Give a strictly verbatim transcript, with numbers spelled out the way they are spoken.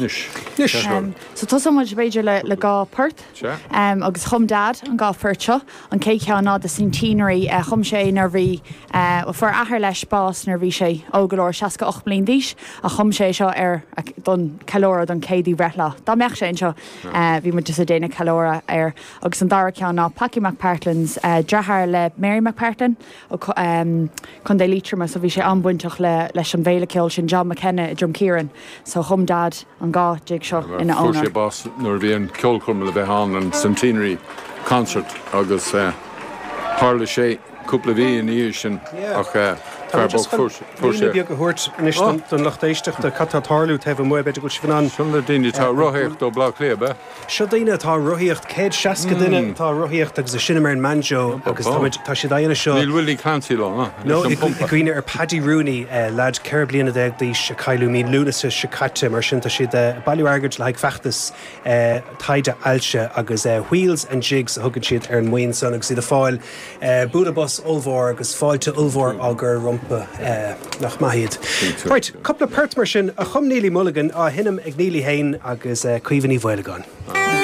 Anois. Anois. So tosóidh muid b'fhéidir le le dhá port Sea. um, agus chum Dad an dhá phort seo an chéad cheann ná The Centenary uh, chum sé nuair bhí uh, fuair athair leis bás nuair bhí sé óg go leor seasca ocht mbliana d'aois a chum sé seo ar don ceiliúradh don céadú breithlá. Dá mbeadh sé anseo uh, bhí muid ag déanamh ceiliúradh air agus an dara ceann ná Packy McPartlands uh, deartháir le Mary McPartlan um, Contae Liatroma so bhí sé an-bhainteach le leis an bhféile ceoil sin John McKenna i Drom Kieran, so chum Dad an dhá jig seo ina Fuair sé onóir. bás nuair bhí an ceolchoirm le bheith ann an Centenary Concert agus uh, tharla sé cúpla mhí ina dhiaidh sin ach uh, Tá just fuair Líne beag a thabhairt anois don don lucht éisteachta cad tá ag tarlú taobh amuigh b'fhéidir go bhfuil sibh in ann. Sin le daoine atá rothaíocht ó Bleá Cliath be? Seo daoine atá rothaíocht céad seasca duine atá rothaíocht agus ag seinm ar an mbanjo agus tá tá siad á dhéanamh seo. Níl Willie Clancy lá No i gcuimhne ar Paddy Rooney uh, lad ceithre bliana déag d'aois a cailleadh mí Lúnasa seo caite mar sin tá siad uh, bailiú airgid le haghaidh feachtas uh, taighde ailse agus uh, Wheels and Jigs a thugann siad ar an mbuíon san agus iad ag fáil uh, bualadh bos ollmhór agus fáilte ollmhór á gcur rompu uh, nach maith iad. Right, cúpla port mar sin a chum Neely Mulligan á sheinm ag Neely féin agus uh, Caoimhe Ní Mhaolagáin.